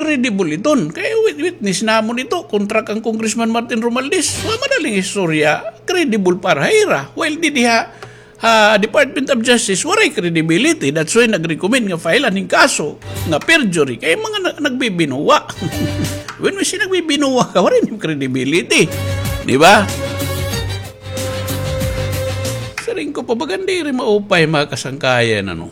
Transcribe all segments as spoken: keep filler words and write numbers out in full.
Credible iton. Kay wit-, witness namon ito kontra kan Congressman Martin Romualdez. Wa man daling istorya, credible para ha ira. While didi ha, ha Department of Justice, waray credibility. That's why nag-recommend nga file-an hin kaso nga perjury. Kay mga na-, nagbibinuwa. When we say nagbibinuwa ka, waray nim credibility. Di ba? Siring ko pa, bagan diri maupay, mga kasangkayan, ano.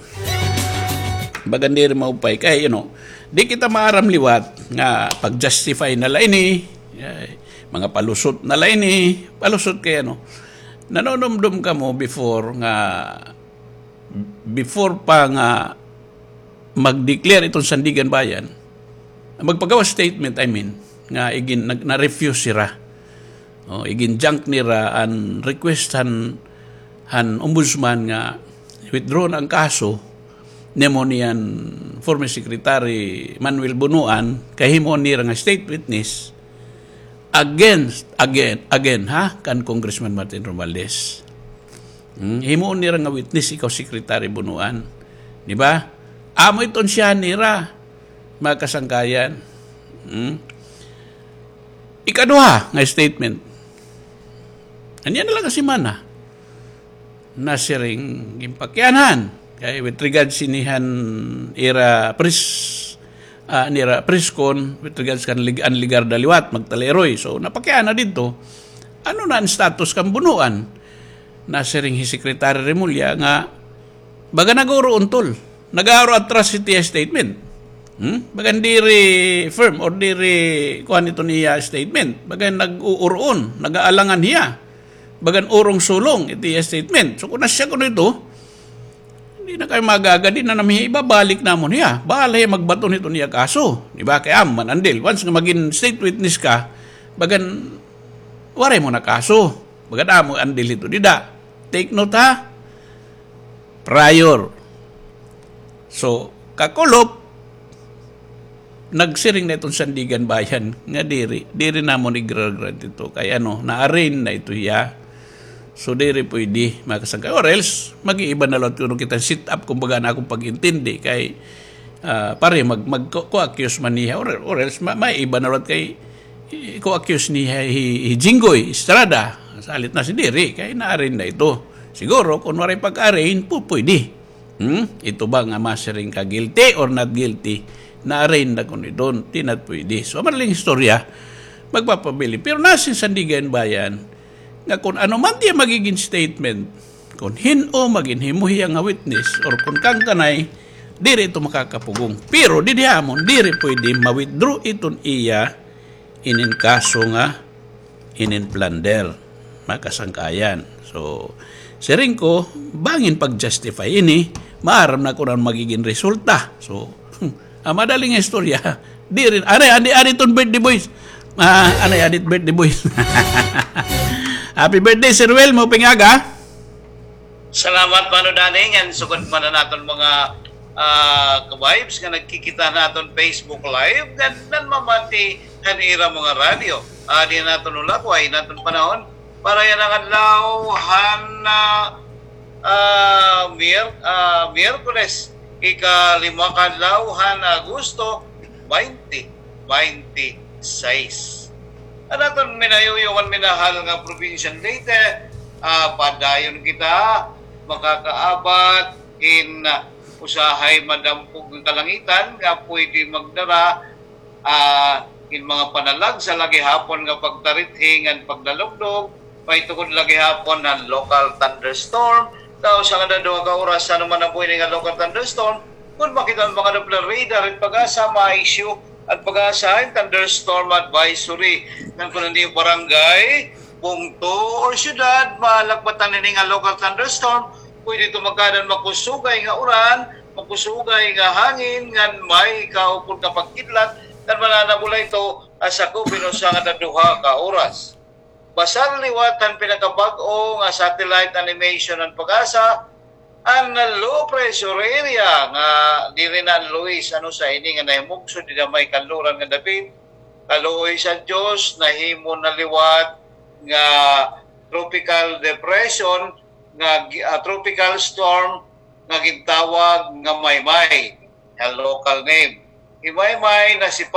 Bagan diri maupay. Kay, you know, di kita maaram liwat nga pag-justify na la ini, eh, mga palusot na la ini, palusot kay, ano. Nanunumdom kamo before nga, before pa nga mag-declare iton Sandiganbayan, magpagawas statement, I mean, nga igin-, nag-, na-refuse sira. O, igin-junk nira an request han, han ombudsman nga withdraw na an kaso nimo niyan former Secretary Manuel Bonoan, kay himuon nira nga state witness against, again, again, ha, kan Congressman Martin Romualdez. Hmm, himuon nira nga witness ikaw, Secretary Bonoan. Di ba? Amo iton siya nira, mga kasangkayan. Hmm? Ikaduha nga statement. Ania na la nga semana, nasiring ginpakianhan. Kay with regards ini han ira press, ah, nira press con, with regards kan Lig-, an Legarda liwat, Magtaleroy. So, napakiana didto, ano na an status kan Bonoan? Nasiring hi Secretary Remulla nga baga nag-uruon, tol. Nag-aaro atras it iya statement. Hmm? Bagan diri firm or diri kuan iton iya statement. Bagan nag-uuroon, nag-aalangan hiya. Bagan urong-sulong it iya statement. So, kon asya kuno ito, hindi na kami mag-aga, di na namin hiya ibabalik namon hiya. Bahala hiya magbaton hiton iya kaso. Di ba? Kay amo man andil. Once nga magin state witness ka, bagan waray mo na kaso. Bagan amo andil hito dida. Take note, ha? Prior. So, kakulop, nagsiring na iton Sandiganbayan nga diri, diri namon igra-grant ito. Kay ano, na-arraign na ito hiya. So, diri pwede, mga kasangkay. Or else, mag-iiba na liwat kuno kita set up, kumbaga, na akon pag-intindi. Kay, ah, pare, mag-, mag-, co-, co-accuse man niya. Or, or else, ma-, maiiba na liwat kay, eh, co-accuse niya hi, hi Jinggoy Estrada. Salit na si diri, kay na-arraign na ito. Siguro, kung waray pag-arraign, pu-, pwede. Hmm? Ito ba nga masiring ka guilty or not guilty? Na-arraign na kuno iton, di na pwede. So, madaling istorya, magpapabilin. Pero nasiring Sandiganbayan, nga kon ano man tiya magigin statement, kon hin-o magin himo hiya nga witness, or kon kangkanay, diri ito makakapugong. Pero, didi ha amon, diri pwede ma-withdraw iton iya inin kaso nga inin plunder, mga kasangkayan. So, siring ko, bangin pag-justify ini, maaram na kon ano magigin resulta. So, ah, madaling istorya. Diri, anay, adi, adi ton birthday boys. Ah, anay, adi birthday boys. Happy birthday, Sir Will, maupay nga aga. Salamat, Mano Danny, ngan sugad man an aton mga, ah, ka-vibes nga nagkikita han aton Facebook Live, ngan nanmamati han ira mga radyo. Adi an aton hulagway han aton panahon para yana nga adlaw han, ah, ah, Mier-, ah, Miyerkules, ikalima ka adlaw han Agosto, twenty twenty-six. An aton minayuyong ngan minahal nga probinsya han Leyte, ah, padayon kita makakaabat hin, ah, usahay madampog nga kalangitan nga pwede magdara, ah, hin mga panalagsa la gihapon nga pagtarithi ngan pagdalugdog, may tukod la gihapon han local thunderstorm. Daw usa ngada duha ka oras, ano man an buhi ini nga local thunderstorm, kon makita an mga Doppler radar, an PAGASA, ma-issue an PAGASA hin thunderstorm advisory. Ngan kon an iyo barangay, bungto, or syudad, malagbatan ini nga local thunderstorm, pwede ito magkaada hin makusugay nga uran, makusugay nga hangin, ngan may kaupod nga pagkidlat, ngan mananabo la ito ha sakop hin usa ngada duha ka oras. Basar liwat han pinakabag-o nga satellite animation han PAGASA, an low pressure area nga diri na an Luis, ano, sa ini nga nahimugsod dida may kanluran nga dapit. Kaluoy sa Dios, nahimo na liwat nga tropical depression, nga gi-, ah, tropical storm nga gintawag nga Maymay, nga local name. Hi Maymay nasipay